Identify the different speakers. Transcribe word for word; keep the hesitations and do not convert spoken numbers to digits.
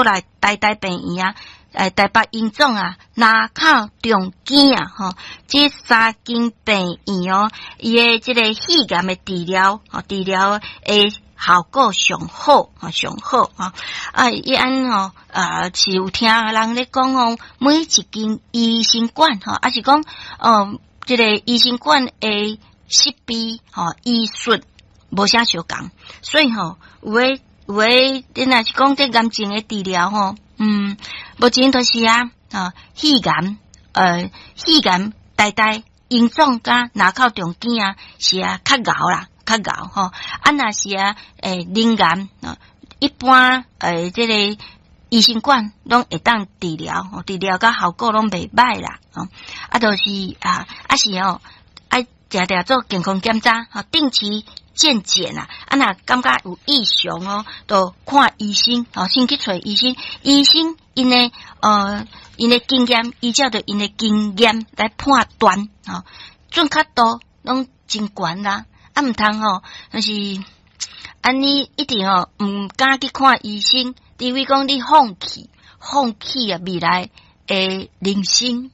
Speaker 1: 閣來台大病院啊，呃，台北榮總啊，林口長庚啊，吼，這三間病院哦，伊的這个肺癌的治療，吼，治療的效果上好，吼，上好，吼。啊，伊按吼，啊，是有聽人咧講哦，每一間醫生館，吼，抑是講，哦，這个醫生館的設備，吼，醫術無啥相仝，所以吼，有的有的，你若是講這癌症的治療，吼，嗯，目前就是啊，啊，肺癌，呃，肺癌，台大榮總佮林口長庚啊，是啊，較𠢕啦，較𠢕吼。啊，若是啊，欸，鳞癌啊，一般欸，這个醫生館攏會當治療，治療佮效果攏袂䆀啦，吼。啊，就是啊，啊是哦，愛定定做健康檢查，吼，定期健檢啊。啊，若感覺有異常哦，就看醫生，吼，先去揣醫生，醫生𪜶的呃，𪜶的經驗，依照著𪜶的經驗來判斷，吼，準確度攏真懸啦。啊，毋通吼，就是按呢一直吼，毋敢去看醫生，除非講你放棄，放棄啊未來的人生。